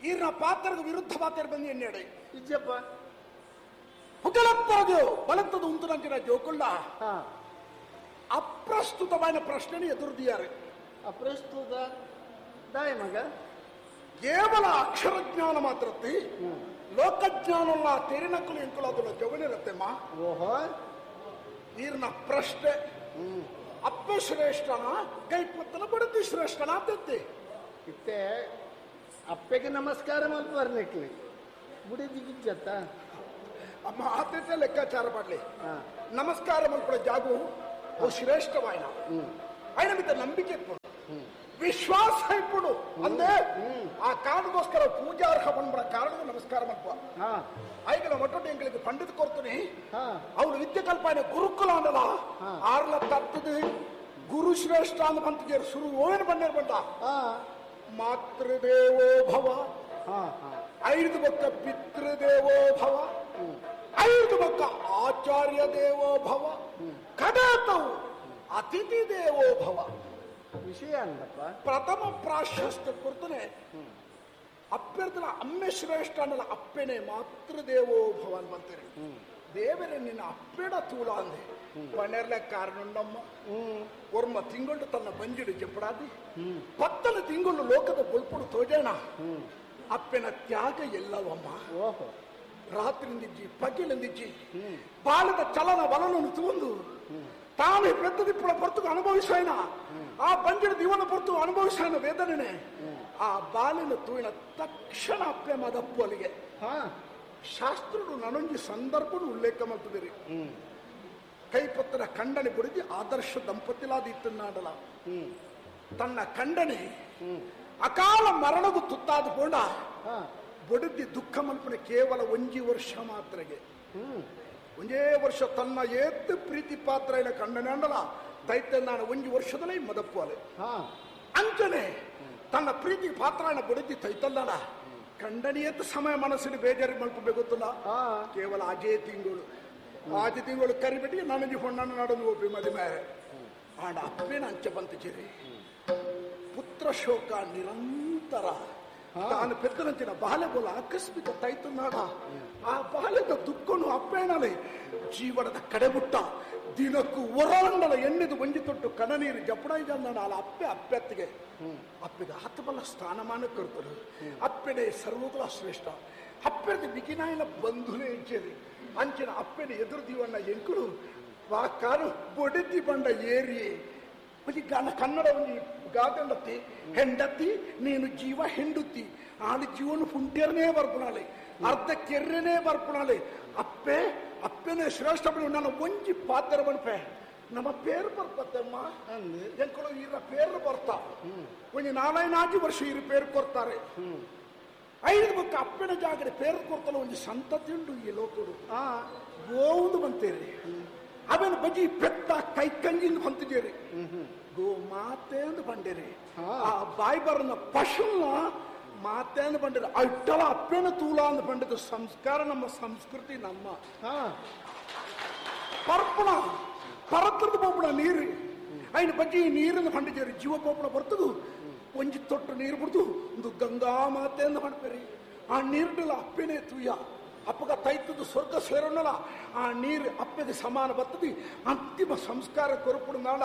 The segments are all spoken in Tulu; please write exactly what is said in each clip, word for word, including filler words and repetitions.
ಈರ್ನ ಪಾತ್ರಕ್ಕೆ ವಿರುದ್ಧ ಪಾತ್ರ ಬಂದು ಎಣ್ಣೆಡೆ ಇಜ್ಜಪ್ಪ ಹುಗಲಪ್ಪರದು ಬಲತ್ತದ ಉಂಟು ಜೋಕುಳ್ಳ ಅಪ್ರಸ್ತುತವಾದ ಪ್ರಶ್ನೆ ಎದುರ್ದಿಯಾರೆ. ಅಪ್ರಸ್ತುತ ದಾಯ ಮಗ ಕೇವಲ ಅಕ್ಷರ ಜ್ಞಾನ ಮಾತ್ರತ್ತಿ ಲೋಕಜ್ಞಾನ ತೆರಿನಕ್ಕಲು ಎಂಕುಲಾದಲ್ಲ ಜವನಿರತ್ತೆಮ್ಮ. ಓಹೋ ಈರ್ನ ಪ್ರಶ್ನೆ ಅಪ್ಪ ಶ್ರೇಷ್ಠನ ಕೈಪತ್ತನ ಬಡತಿ ಶ್ರೇಷ್ಠನ ಅಂತತ್ತಿ. ಇತ್ತೆ ಅಪ್ಪಗೆ ನಮಸ್ಕಾರ ಮಲ್ಪರ್ನಿಕ್ಲಿ ಬುಡಿದಿಗಿಜ್ಜತ್ತ ಅಮ್ಮ ಆತೈತೆ ಲೆಕ್ಕಾಚಾರ ಮಾಡಲಿ. ನಮಸ್ಕಾರ ಮಲ್ಪಡ ಜಾಗು ಓ ಶ್ರೇಷ್ಠವಾಯನ ఆయన మీద ನಂಬಿಕೆ ಇಪ್ಪುಡು ವಿಶ್ವಾಸ ಇಪ್ಪುಡು ಅಂದೆ ಆ ಕಾರಣಕ್ಕೋಸ್ಕರ ಪೂಜಾರ್ಹ ಬಂದ್ಬಿಡ ಕಾರಣಕ್ಕೂ ನಮಸ್ಕಾರ ಮಲ್ಪ. ಐಗಲ ಒಟ್ಟೊಟ್ಟು ಎಂಗಳಿಗೆ ಪಂಡಿತ ಕೊಡ್ತೀನಿ ಅವಳು ವಿದ್ಯೆ ಕಲ್ಪಾಯನ ಗುರುಕುಲ ಅಂದಲ್ಲ ಆರ್ಲ ತತ್ತದು ಗುರು ಶ್ರೇಷ್ಠ ಅಂದ ಬಂತ ಶುರು ಓನ್ ಬಂದೇರ್ ಬಂದ ಮಾತೃದೇವೋ ಭವ ಐದು ಬಕ್ಕ ಪಿತೃದೇವೋ ಭವ ಐದು ಬಕ್ಕ ಆಚಾರ್ಯ ದೇವೋ ಭವ ಕಡತವು ಅತಿಥಿ ದೇವೋ ಭವ. ವಿಷಯ ಅಂದಪ್ಪ ಪ್ರಥಮ ಪ್ರಾಶಸ್ತ್ಯ ಕೊಡ್ತಾನೆ ಅಪ್ಯರ್ಥನ ಅಮ್ಮೆ ಶ್ರೇಷ್ಠ ಅನ್ನಲ್ಲ ಅಪ್ಪೆನೆ ಮಾತೃದೇವೋ ಭವ ಅಂತಾರೆ. ದೇವರೇ ನಿನ್ನ ಅಪ್ಪೆಡ ತೂಳ ಅಂದೆ ಪಣೆರ್ಲ ಕಾರಣಮ್ಮ ಒರ್ಮ ತಿಂಗಳು ತನ್ನ ಬಂಜಿಡು ಜಪ್ಪಡಾದಿ ಪತ್ತನ ತಿಂಗಳು ಲೋಕದ ಬೊಲ್ಪುಡು ತೋಜಣ ಅಪ್ಪೆನ ತ್ಯಾಗ ಎಲ್ಲವಮ್ಮ. ರಾತ್ರಿಂದಿಜ್ಜಿ ಪಗಿಲಂದಿಜ್ಜಿ ಬಾಲದ ಚಲನ ವಲನನ್ನು ತೂಂದು ತಾನು ಪೆದ್ದದಿಪ್ಪಳ ಪೊರ್ತುకు ಅನುಭವಿಸೋಣ ಆ ಬಂಜಿಡ ದಿವನ ಪೊರ್ತು ಅನುಭವಿಸೋಣ ವೇದನೆ ಆ ಬಾಲಿನ ತೂಯಿನ ತಕ್ಷಣ ಅಪ್ಪೆ ಮದಪ್ಪು ಅಲ್ಲಿಗೆ. ಶಾಸ್ತ್ರನು ನನೊಂಜಿ ಸಂದರ್ಭನು ಉಲ್ಲೇಖ ಮಾಡ್ತಿದ್ದೀರಿ. ಕೈಪತ್ತರ ಖಂಡನೆ ಬುಡಿದಿ ಆದರ್ಶ ದಂಪತಿಲಾದ ಇತ್ತನ್ನಾಡಲ ತನ್ನ ಖಂಡನೆ ಅಕಾಲ ಮರಣಗೂ ತುತ್ತಾದ ಕೊಂಡ ಬುಡಿದಿ ದುಃಖ ಮಲ್ಪನೆ ಕೇವಲ ಒಂಜಿ ವರ್ಷ ಮಾತ್ರಗೆ ಒಂದೇ ವರ್ಷ ತನ್ನ ಏತ್ ಪ್ರೀತಿ ಪಾತ್ರ ಇಲ್ಲ ಖಂಡನೆ ಅಂಡಲ ದೈತ್ಯ ನಾನು ಒಂಜಿ ವರ್ಷದಲ್ಲೇ ಮದಪ್ಪು ಅಲೆ ಅಂಚನೆ ತನ್ನ ಪ್ರೀತಿ ಪಾತ್ರ ಬುಡಿದಿ ತೈತಲ್ಲಡ ಖಂಡನೀಯತ ಸಮಯ ಮನಸ್ಸಿನ ಬೇಜಾರಿ ಮಲ್ಪಬೇಕು ಗೊತ್ತಿಲ್ಲ ಕೇವಲ ಅಜೇ ತಿಂಗಳು ಆಜೆ ತಿಂಗಳು ಕರಿಬಿಟ್ಟು ನನಗೆ ಹೊಣ್ಣನ್ನು ನಡದು ಒಪ್ಪಿ ಮದಿ ಮೇಲೆ ಆಂಡ ಅಪ್ಪೇನ ಅಂಚೆ ಬಂತಿದ್ದೀರಿ ಪುತ್ರ ಶೋಕ ನಿರಂತರ ತಾನು ಪೆದ್ದನಂಚಿನ ಬಾಲೆ ಬೋಲ ಆಕಸ್ಮಿಕ ತೈತನಾಡ ಆ ಬಾಲ್ಯದ ದುಃಖನು ಅಪ್ಪೇನಲೆ ಜೀವನದ ಕಡೆಬುಟ್ಟ ದಿನಕ್ಕೂ ಒರಂಡಲ ಎಣ್ಣೆದು ಒಂಜಿ ತೊಟ್ಟು ಕಣನೀರು ಜಪಡಾಯಿ ಅಲ್ಲ ಅಪ್ಪೆ ಅಪ್ಪೆತ್ತಿಗೆ ಅಪ್ಪೆಗೆ ಆತಬಲ್ಲ ಸ್ಥಾನಮಾನ ಕೊಡ್ತಾರೆ. ಅಪ್ಪೆಡೆ ಸರ್ವಗಳ ಶ್ರೇಷ್ಠ ಅಪ್ಪೆದ ಬಿಗಿನಾಯಿನ ಬಂಧುನೇ ಇಚ್ಚೇರಿ ಅಂಚಿನ ಅಪ್ಪೆನ ಎದುರು ದೀವಣ್ಣ ಎಂಕುಳು ವಾ ಕಾರು ಬೊಡೆದಿ ಬಂಡ ಏರಿ ಗಾನ ಕನ್ನಡ ಒಂದು ಗಾದಂಡತ್ತಿ ಹೆಂಡತಿ ನೀನು ಜೀವ ಹೆಂಡುತ್ತಿ ಆಳು ಜೀವನ ಪುಂಟೇರನೇ ಬರ್ಪುಣಾಳೆ ಅರ್ಧ ಕೆರ್ರೆನೇ ಬರ್ಪುಣಾಳೆ ಅಪ್ಪೆ ಅಪ್ಪೆನೇ ಶ್ರೇಷ್ಠ ನಾನು ಒಂಜಿ ಪಾತ್ರ ಬಣ್ಪೆ ನಮ್ಮ ಪೇರು ಬರ್ತತ್ತಮ್ಮ ಎಂಕುಳು ಈರ ಪೇರು ಬರ್ತಾ ಒಂಜಿ ನಾಲ್ಕೈನಾಜಿ ವರ್ಷ ಇರು ಪೇರು ಕೊಡ್ತಾರೆ ಐದು ಬಕ್ಕ ಅಪ್ಪನ ಜಾಗಡೆ ಪೇರು ಕೊಡ್ತಲ್ಲ ಒಂಜಿ ಸಂತತಿ ಉಂಡು ಈ ಲೋಕಡು ಗೋವುದು ಬಂತೇರಿ ಅವನ ಬಜಿ ಪೆತ್ತ ಕೈ ಕಂಜಿಂದ ಬಂತಿದ್ದೀರಿ ಗೋ ಮಾತೆ ಅಂದು ಬಂಡೇರಿ ಆ ಬಾಯಿ ಬರನ ಪಶುನ ಮಾತೆ ಅಂದು ಬಂಡಿರಿ ಅಟ್ಟಲ ಅಪ್ಪೆನ ತೂಲ ಅಂದು ಬಂಡಿದ್ದು ಸಂಸ್ಕಾರ ನಮ್ಮ ಸಂಸ್ಕೃತಿ ನಮ್ಮ ಪರ್ಪಣ ಪರತ್ರದ ಪೋಪಣ ನೀರು ಐನ ಬಜ್ಜಿ ನೀರನ್ನು ಬಂಡಿದ್ದೀರಿ ಜೀವ ಪೋಪಣ ಬರ್ತದು ಒಂಜಿ ತೊಟ್ಟು ನೀರು ಬಿಡ್ದು ಒಂದು ಗಂಗಾ ಮಾತೆ ಅಂದು ಮಾಡ್ಬೇರಿ ಆ ನೀರಿನಲ್ಲ ಅಪ್ಪೆನೇ ತೂಯ ಅಪ್ಪಗ ತೈತದ್ದು ಸ್ವರ್ಗ ಸೇರೋಣಲ್ಲ ಆ ನೀರು ಅಪ್ಪೆಗೆ ಸಮಾನ ಬರ್ತದೆ ಅಂತಿಮ ಸಂಸ್ಕಾರ ಕೊರಪುಡು ನಾಡ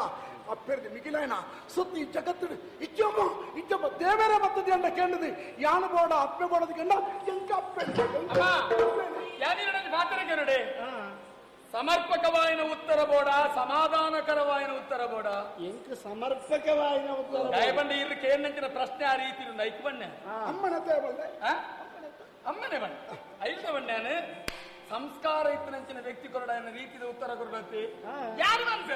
ಅಪ್ಪೆರ್ದು ಮಿಗಿಲಾಯನ ಸುತ್ತಿ ಜಗತ್ತು ಇಜ್ಜಮ್ಮ ಇಜ್ಜಮ್ಮ ದೇವರೇ ಬರ್ತದೆ ಅಂಡ ಕೇಳಿದೆ ಯಾನು ಬೋಡ ಅಪ್ಪೆ ಬೋಡದ ಕಂಡ ಎಂಕ ಅಪ್ಪೆ ಸಮರ್ಪಕವಾಯಿನ ಉತ್ತರ ಬೋಡ ಸಮಾಧಾನಕರವಾಯಿನ ಉತ್ತರ ಬೋಡ ಎಂಕ ಸಮರ್ಪಕವಾಯಿನ ಉತ್ತರ ದಯಬಂಡ ಇರು ಕೇಳಿನ ಪ್ರಶ್ನೆ ಆ ರೀತಿ ನೈಕ್ ಬಣ್ಣೆ ಅಮ್ಮನ ಬಂದೆ ಅಮ್ಮನೆ ಬಣ್ಣ ಐದ ಬಣ್ಣಾನೆ ಸಂಸ್ಕಾರ ಇತ್ತು ನಂಚಿನ ವ್ಯಕ್ತಿ ಕೊರಡ ರೀತಿದ ಉತ್ತರ ಕೊರಡತ್ತಿ ಯಾರು ಬಂತ